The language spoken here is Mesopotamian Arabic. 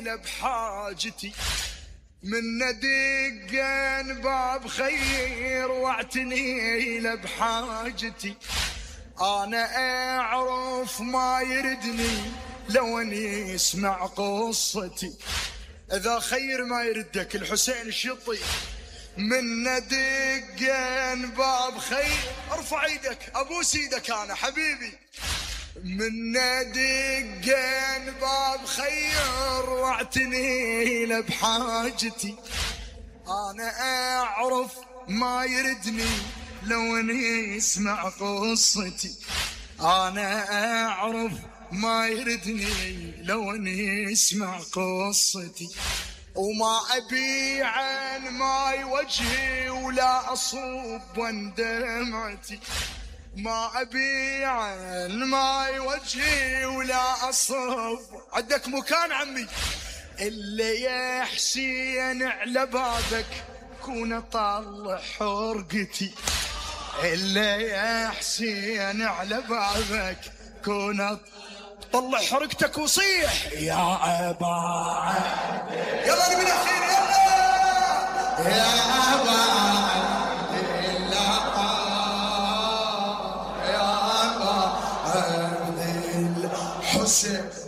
له بحاجتي، من دقن باب خير واعتني له بحاجتي، انا اعرف ما يردني لو اني يسمع قصتي. اذا خير ما يردك الحسين الشطي، من دقن باب خير، ارفع ايدك ابوس ايدك انا حبيبي، من دقن باب خير واعتني له بحاجتي، انا اعرف ما يردني لو اني يسمع قصتي، انا اعرف ما يردني لو اني يسمع قصتي، وما ابي عن ماي وجهي ولا اصب عن دمعتي، ما ابي عن ماي وجهي ولا اصب. عندك مكان عمي اللي يا حسين على بابك كون اطلع حرقتي، اللي يا حسين على بابك كون طلع حرقتك وصيح يا ابا عبد. يلا نبي الاخير يلا يا ابا عبد الله، يا ابا عبد الحسين.